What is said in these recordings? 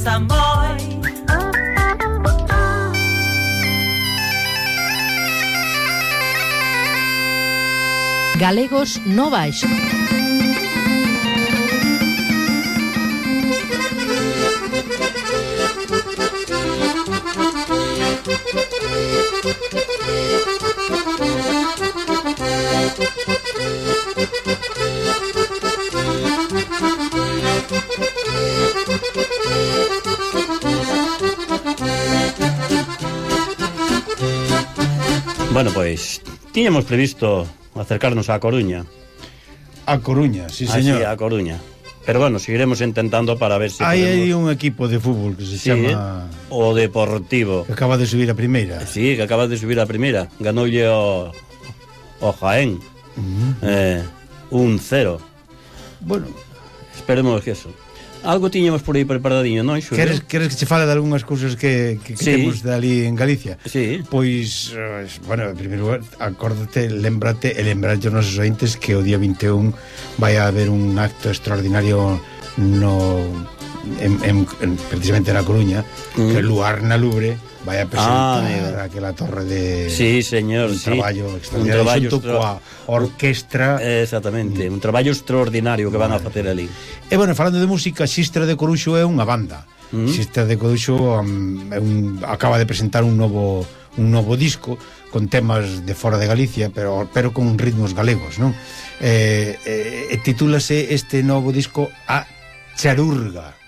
gustan moi. Galegos no Baixo. Bueno, pois tiñamos previsto acercarnos á Coruña. A Coruña, sí, señor. Sí, a Coruña. Pero bueno, seguiremos intentando para ver se Hai un equipo de fútbol que se chama o Deportivo, que acaba de subir a primeira. Sí, que acaba de subir a primeira. Ganoulle o Jaén 1-0. Bueno, esperemos que eso. Algo tiñamos por aí preparadinho, non? Queres que che fale de algunhas cousas que temos dali en Galicia? Sí. Pois, bueno, en primeiro lugar, acórdate, lembrate aos nosos ointes que o día 21 vai haber un acto extraordinario precisamente na Coruña, que Luar na Lubre vai a presentar aquela torre de... Sí, señor, un traballo extraordinario xunto coa orquestra. Exactamente, un traballo extraordinario que van a facer ali. E bueno, falando de música, Xistra de Coruxo é unha banda. Xistra de Coruxo acaba de presentar un novo disco con temas de fora de Galicia, pero con ritmos galegos, non? Titúlase este novo disco A Charurga.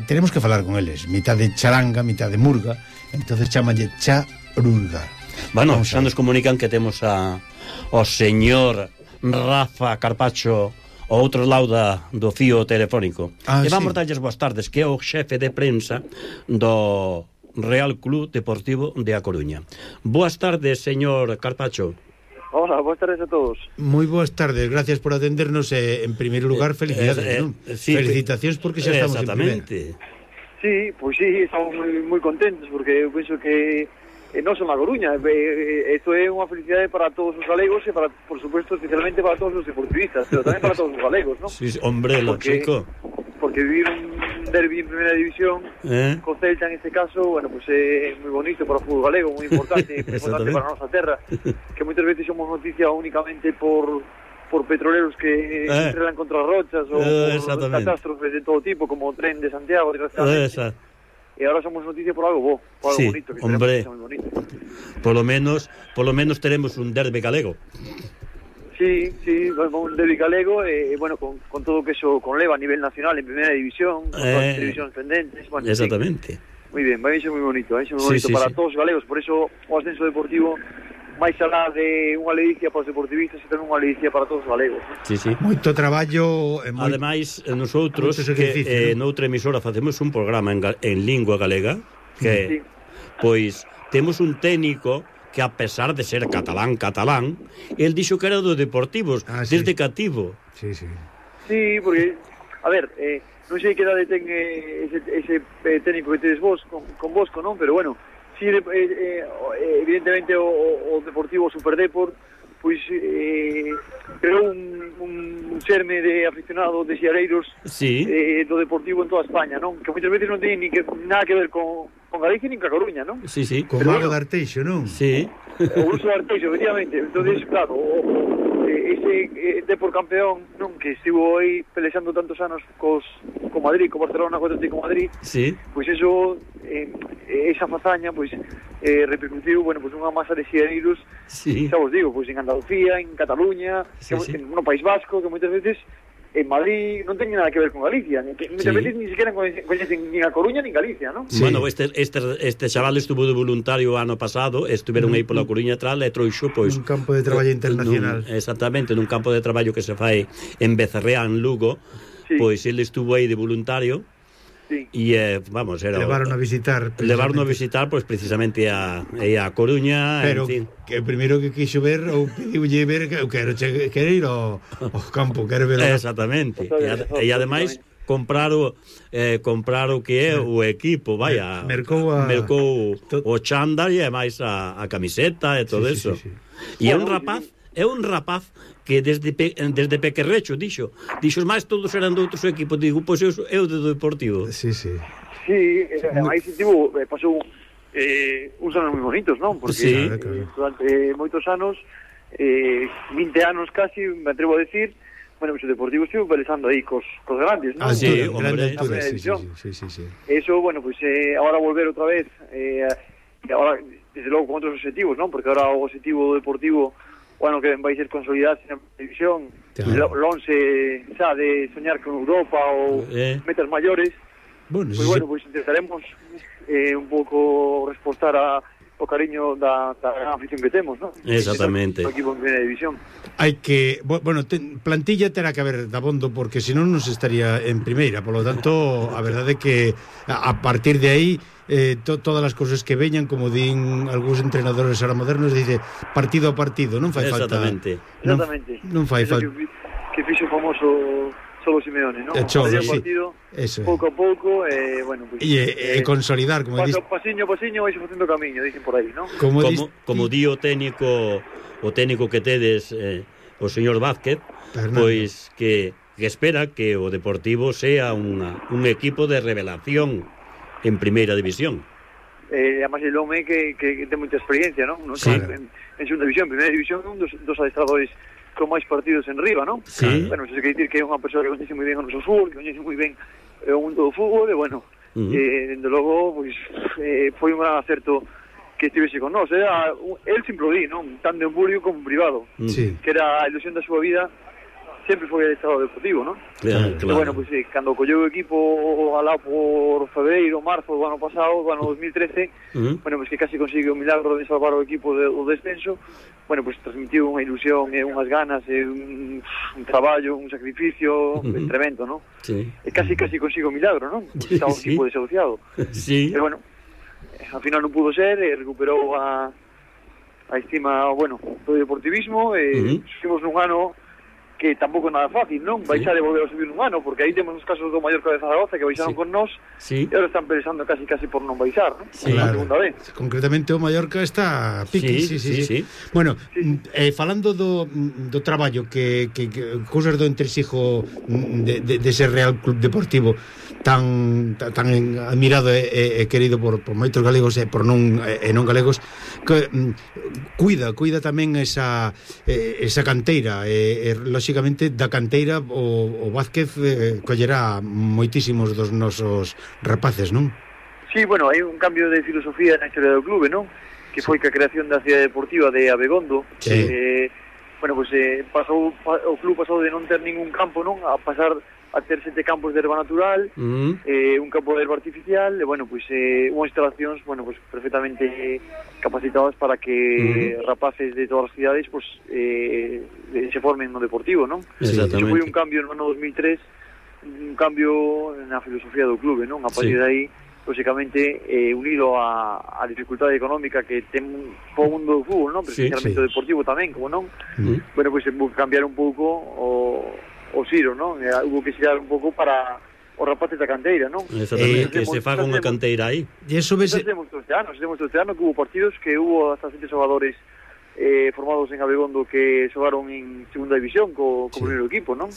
Tenemos que falar con eles, mitad de charanga, mitad de murga. Entonces chámanlle Charurga. Bueno, xa nos comunican que temos o señor Rafa Carpacho ao outro lado do fío telefónico. E vamos darlles boas tardes, que é o xefe de prensa do Real Club Deportivo de A Coruña. Boas tardes, señor Carpacho. Hola, boas tardes a todos. Moi boas tardes, gracias por atendernos e, en primeiro lugar, felicidades, non? Sí, felicitacións porque xa estamos en primeira. Sí, pois sí, estamos moi contentos porque eu penso que non son a Coruña, isto é unha felicidade para todos os galegos e para, por supuesto, especialmente para todos os deportivistas, pero tamén para todos os galegos, non? Sí, hombre, lo chico. Porque vivir un derbi en primeira división co Celta en este caso, bueno, pues é moi bonito para o fútbol galego, moi importante para a nosa terra, que moitas veces somos noticia únicamente por petroleros que se estrelan contra rochas ou por catástrofes de todo tipo, como o tren de Santiago, desgraciadamente. E agora somos noticia por algo por algo bonito, que hombre, moi bonito. Por lo menos teremos un derbi galego. Sí, un derbi galego e, bueno, con todo o que eso conleva a nivel nacional en primeira división, con todas as televisións pendentes, bueno, exactamente. Moi ben, vai ser moi bonito, para todos os galegos, por eso o ascenso deportivo máis alá de unha ledicia para os deportivistas e tamén unha ledicia para todos os galegos. Sí. Moito traballo. Ademais, nosotros que noutra emisora facemos un programa en lingua galega que, pois, temos un técnico que, a pesar de ser catalán, el dixo que era do Deportivos desde cativo. Sí, porque, a ver, non sei que edade ten ese técnico que tedes vos con Bosco, non? Pero bueno, sí, evidentemente o Deportivo Superdeport pois creou un xerme de aficionado de xiareiros do Deportivo en toda España, non? Que moitas veces non ten nada que ver con Galicia nin ca Coruña, non? Sí. Con Mago de Arteixo, non? Sí. O uso de Arteixo, efectivamente. Entonces, claro, ese Depor campeón, non, que estivo aí pelexando tantos anos co Madrid, co Barcelona, co Atlético Madrid, pois eso, esa fazaña, pois repercutiu, bueno, pois unha masa de xiareiros, xa vos digo, pois en Andalucía, en Cataluña, no País Vasco, que moitas veces en Madrid non ten nada que ver con Galicia, que moitas veces ni siquiera coñecen nin a Coruña nin Galicia, non? Bueno, este chaval estuvo de voluntario o ano pasado, estuveron aí pola Coruña atrás e trouxo, pois, un campo de traballo internacional. Exactamente, nun campo de traballo que se fai en Becerrea, en Lugo, pois ele estuvo aí de voluntario. E, vamos, era... Levaron a visitar, pois, precisamente a Coruña. Pero que o primeiro que quixo ver, ou pediulle ver, que eu quero ir ao campo, quero ver... Exactamente. E ademais comprar o que é o equipo, vaya, mercou o chándal e máis a camiseta e todo eso. E é un rapaz que desde pequerrecho dixo máis todos eran de outros equipos, digo, pois eu de Deportivo. Sí. Sí, aí pasou uns anos moi bonitos, non? Porque durante moitos anos, 20 anos casi, me atrevo a decir, bueno, pues o Deportivo estuvo pelexando aí cos grandes, non? Sí, grande hombre, altura, sí. Eso, bueno, pues ahora volver outra vez, ahora, desde logo, con outros objetivos, non? Porque ahora o objetivo do Deportivo, bueno, que vai ser consolidarse na televisión, lonxe xa de soñar con Europa ou metas maiores. Bueno, pues intentaremos un pouco respostar o cariño da gran afición que temos, non? Exactamente. O equipo en primeira división. Hai que, bueno, plantilla terá que haber dabondo porque senón non se estaría en primeira, polo tanto, a verdade é que a partir de aí todas as cousas que veñan, como din algúns entrenadores ahora modernos, dice partido a partido, non fai falta. Exactamente. Non fai falta. Que fixo o famoso Cholo Simeone, non? Partido, pouco a pouco, bueno, pues, consolidar, como dices. Pasiño, vais facendo camiño, dicen por aí, non? Como di o técnico que tedes, o señor Vázquez, pois que espera que o Deportivo sea un equipo de revelación en primeira división. Además el home que ten moita experiencia, non? Sí. En segunda división, en primeira división, un dos adestradores con máis partidos en riba, non? Sí. Bueno, se quer dicir que é unha persoa que coñece moi ben o noso fútbol, que coñece moi ben o mundo do fútbol, e bueno, dende logo, pois, foi un gran acerto que estivese con nós. El sempre o di, non? Tanto en público como en privado. Sí. Que era a ilusión da súa vida, sempre foi el estado deportivo, non? Claro. E bueno, pues cando colleu o equipo alá por febreiro, marzo do ano pasado, do ano 2013, bueno, pues que casi consigue o milagro de salvar o equipo do descenso, bueno, pues transmitiu unha ilusión e unhas ganas e un traballo, un sacrificio tremendo, non? Sí. E casi consigue o milagro, non? Pues estaba un equipo desahuciado. Sí. Pero bueno, ao final non pudo ser, recuperou a estima, bueno, do deportivismo, e seguimos nun ano que tampouco é nada fácil, non? Baixar e volver a subir nun ano, porque aí temos os casos do Mallorca de Zaragoza que baixaron con nós e agora están pensando casi por non baixar, non? Sí, claro. Segunda vez. Concretamente o Mallorca está pique, sí. Bueno, falando do traballo que cousas do entresijo dese Real Club Deportivo tan admirado e querido por moitos galegos e por non galegos, que cuida tamén esa canteira e lógicamente da canteira o Vázquez collerá moitísimos dos nosos rapaces, non? Sí, bueno, hai un cambio de filosofía na historia do clube, non? Que foi que a creación da cidade deportiva de Abegondo. Sí. Bueno, pues o club pasou de non ter ningún campo, non? A pasar a ter 7 campos de herba natural, un campo de herba artificial, e, bueno, pues unhas instalacións, bueno, pues perfectamente capacitadas para que rapaces de todas as cidades, pues se formen no deportivo, non? Exactamente. Foi un cambio no ano 2003, un cambio na filosofía do clube, non? A partir de aí, lógicamente, unido a dificultade económica que ten o mundo do fútbol, non? Pero especialmente o deportivo tamén, como non? Bueno, pues cambiar un pouco o xiro, non? Hubo que xirar un pouco para os rapaces da canteira, non? Exactamente, que se faga unha canteira aí. E eso ves... Temos este ano que hubo partidos que hubo hasta 7 xogadores formados en Abegondo que xogaron en segunda división co primeiro equipo, non?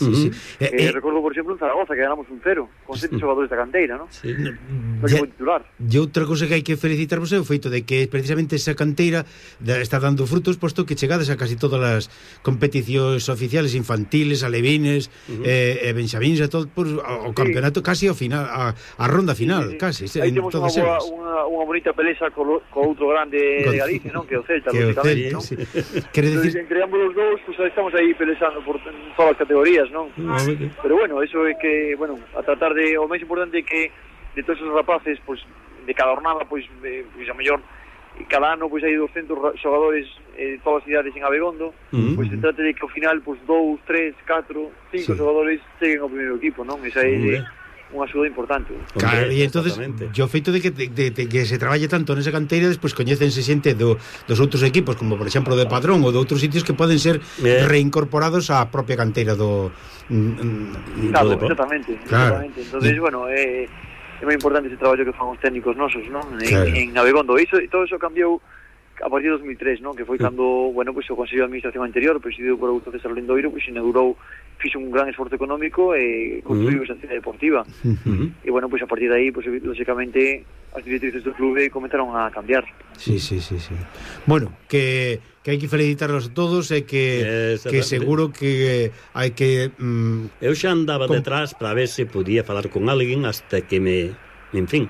Recordo, por exemplo, en Zaragoza que ganamos 1-0 con 7 xogadores da canteira, non? Sí. Titular. E outra cousa que hai que felicitarvos é o feito de que precisamente esa canteira está dando frutos, posto que chegades a casi todas as competicións oficiales infantiles, alevines, benxamíns, a todo o campeonato casi ao final, a ronda final, casi. Aí temos unha bonita pelexa co outro grande de Galicia, non? Que é o Celta, lógicamente, non? Sí. Quere decir... Entre ambos os dous, pues estamos aí pelexando por todas as categorías, non? Pero bueno, eso é que, bueno, a tratar de, o máis importante é que de todos os rapaces, pues, de cada jornada, pues a mellor cada ano, pues hai 200 xogadores de todas as cidades en Abegondo, pues se trata de que ao final, pues 2, 3, 4, 5 xogadores cheguen ao primeiro equipo, non? Esa é unha axuda importante. Claro, e entonces o feito de que se traballe tanto nesa canteira, despois coñécense xente dos outros equipos, como por exemplo de Padrón ou de outros sitios que poden ser reincorporados á propia canteira do claro, exactamente. Entonces, bueno, é moi importante ese traballo que fan os técnicos nosos, non? En Abegondo. E todo eso cambiou a partir de 2003, non? Que foi cando, bueno, pois o Consello de Administración anterior, presidido por Augusto César Lindoiro, pois inaugurou, fixo un gran esforzo económico e construiu esa cidade deportiva. E, bueno, pois a partir de aí, pois, lógicamente, as directrices do clube comenzaron a cambiar. Sí. Bueno, que hai que felicitarlos a todos e que seguro que hai que... Eu xa andaba detrás para ver se podía falar con alguén hasta que en fin,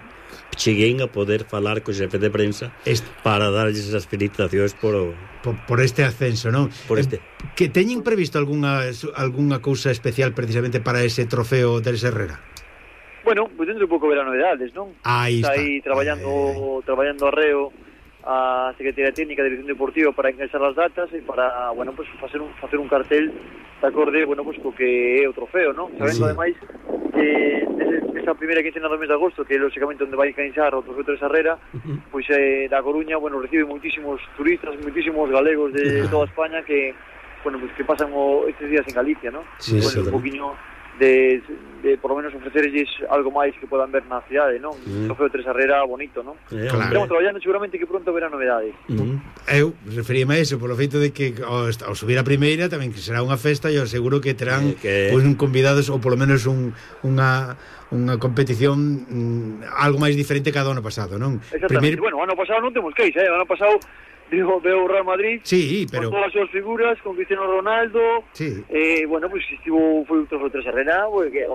cheguei a poder falar co xefe de prensa para darlles as felicitacións por este ascenso, non? Que teñen previsto algunha cousa especial precisamente para ese trofeo del Herrera? Bueno, pues dentro de pouco verá novedades, non? Está aí traballando arreo a Secretaría Técnica de Dirección Deportiva para encaixar as datas e para, bueno, pues facer un cartel de acorde, bueno, pues co que é o trofeo, non? Sabendo ademais que esa primeira quincena do mes de agosto, que é lógicamente onde vai encaixar o trofeo Teresa Herrera, pois da Coruña, bueno, recibe moitísimos turistas, moitísimos galegos de toda España que, bueno, pues que pasan estes días en Galicia, non? Sí, bueno, un poquinho de por lo menos ofrecerles algo máis que podan ver na cidade, non? O trofeo Teresa Herrera bonito, non? Claro. Estamos traballando seguramente que pronto verá novedades. Eu referíame a eso polo feito de que ao subir a primeira tamén que será unha festa e eu seguro que terán pois convidados ou polo menos unha competición algo máis diferente cada ano pasado, non? Exactamente. Bueno, ano pasado non temos queixa, ano pasado veo o Real Madrid, sí, pero con todas as súas figuras, con Cristiano Ronaldo, sí. Bueno, pues foi un trofeo Teresa Herrera, porque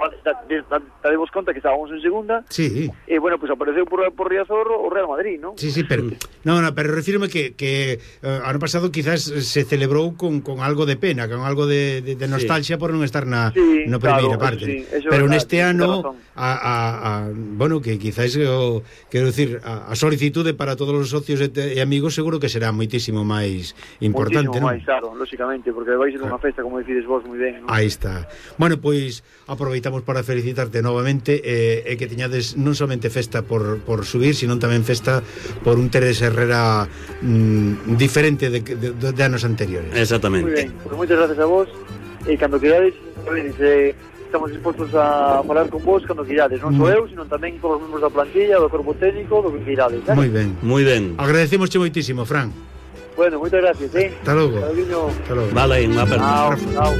damos conta que estábamos en segunda, sí. Bueno, pues apareceu por Riazor o Real Madrid, ¿no? Sí, pero pero refírome que ano pasado quizás se celebrou con algo de pena, con algo de nostalgia por non estar na primeira parte, pero neste ano bueno, que quizás quero dicir, a solicitude para todos os socios e amigos seguro que será moitísimo máis importante, moitísimo máis, claro, lógicamente, porque vai ser unha festa, como decides vos moi ben, ¿no? Aí está. Bueno, pois aproveitamos para felicitarte novamente e que teñades non somente festa por subir, sino tamén festa por un Teresa Herrera diferente de anos anteriores. Exactamente. Moi ben, pues moitas gracias a vos e cando querades, estamos dispostos a falar con vos cando queirades, non só eu, sino tamén todos os membros da plantilla, do corpo técnico, do que queirades, ¿eh? Moi ben. Agradecemosche moitísimo, Fran. Bueno, moitas gracias, Hasta logo. Vale, unha aperta. Chao.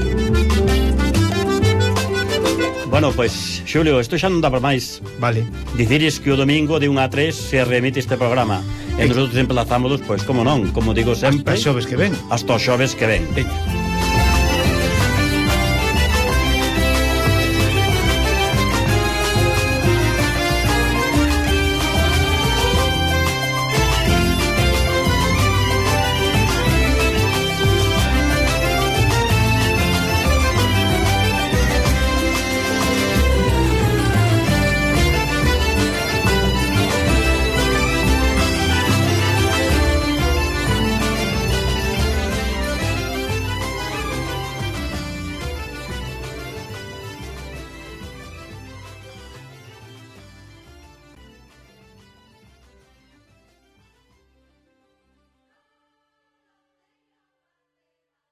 Bueno, pois, Xulio, isto xa non dá para máis. Vale. Dicires que o domingo de 1 a 3 se remite este programa. E nosotros emplazámonos, pois, como non, como digo sempre, hasta xoves que ven. Hasta xoves que ven.